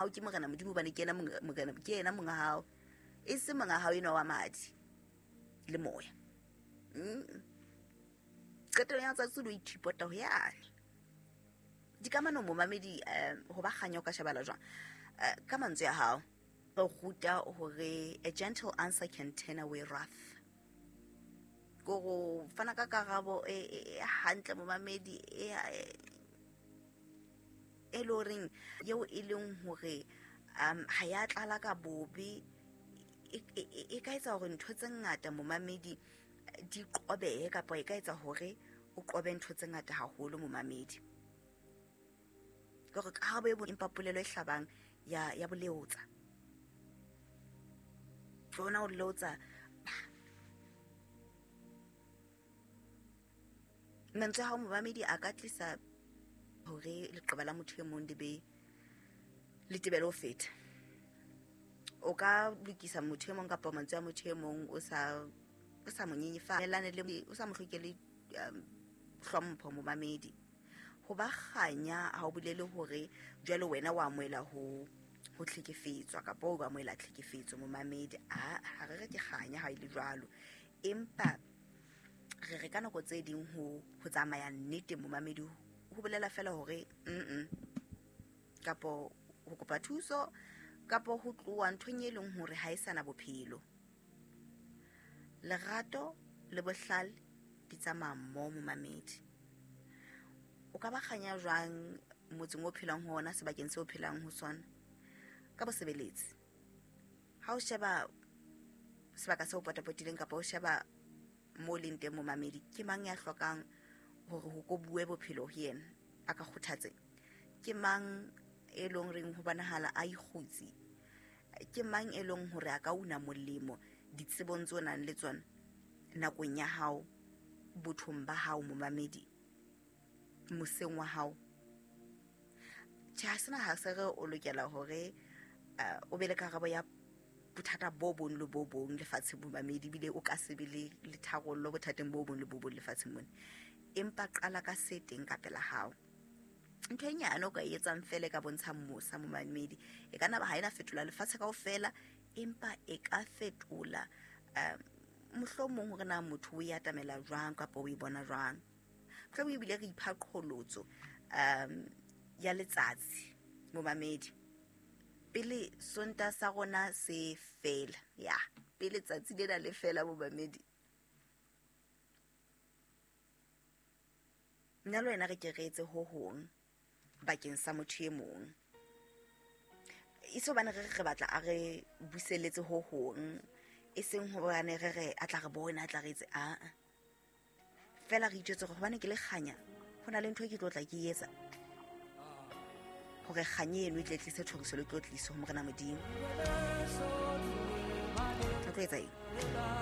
Hao ke Morena Modimo, hobane ke yena Morena, ke yena monga hao, e se monga hao enwa wa madi le moya. Qetellong ya tsatsi o ithipota ho yane dikamanong. Momamedi, ho ba kganya o ka shebala jwang ka mantswe a hao? Re ruta hore a gentle answer can turn away wrath. Ko go fana ka karabo e hantle, momamedi, e le horeng eo e leng hore ha ya tlala ka bobe, e ka etsa hore ntho tse ngata, momamedi, di qobehe, kapa e ka etsa hore o qobe ntho tse ngata haholo, momamedi. Ke hore karabo e empa polelo e hlabang ya boleotsa ke ona o leotsa. Mantswe a hao, momamedi, a ka tlisa hore leqeba la motho e mong le be le tebele ho feta. O ka lokisa motho e mong kapa mantswe a motho e mong o sa mo nyenyefatsa le o sa mo hlokele hlompho. Momamedi, ho ba kganya ha o bolele hore jwale wena wa amohela ho tlhekefetswa kapa o amohela tlhekefetso. Momamedi, a ha re re ke kganya ha e le jwalo, empa re re ka nako tse ding ho tsamaya nnete, momamedi, ho bolela fela hore kapo ho kopa thuso kapo ho tloha nthong e leng hore ha e sana bophelo. Lerato le bohlale di tsamaya mmoho. Momamedi, o ka ba kganya jwang motseng o phelang ho ona, sebakeng seo o phelang ho sona? Ka bosebeletsi. Ha o sheba sebaka seo potapotileng kapa o sheba mo leng teng, momamedi, ke mang ya hlokang hore ho ko bue bophelo ho yena, a ka kgothatse? Ke mang e leng reng ho bonahala a ikgutse? Ke mang e leng hore a ka una molemo ditsebong tse o nang le tsona nakong ya hao, bothong ba hao, momamedi, moseng wa hao? Tjhe, ha sena ha se re o lokela hore o be le karabo ya bothata bo bong le bo bong lefatsheng, momamedi, ebile o ka se be le tharollo bothateng bo bong le bo bong lefatsheng mona, empa qala ka se teng ka pela hao. Ntho e nyane o ka e etsang fela e ka bontshang mosa, momamedi, e ka nna ba ha ena fetola lefatshe kaofela, empa e ka fetola mohlomong hore na motho o e atamela jwang kapa o e bona jwang. Mohlomong ebile re ipha qholotso ya letsatsi, momamedi, pele Sonta sa rona se fela, ya pele tsatsi lena le fela. Momamedi, nna le wena re ke re etse ho hong bakeng sa motho e mong, e se hobane re re batla a re buseletse ho hong, e seng hobane re re a tla re bona, a tla re etse aa. Fela re itjwetse hore hobane ke le kganya, ho na le ntho e ke tlo tla ke etsa hore kganye eno e tle tlise thoriso le tlotliso ho Morena Modimo. O tlo etsa eng?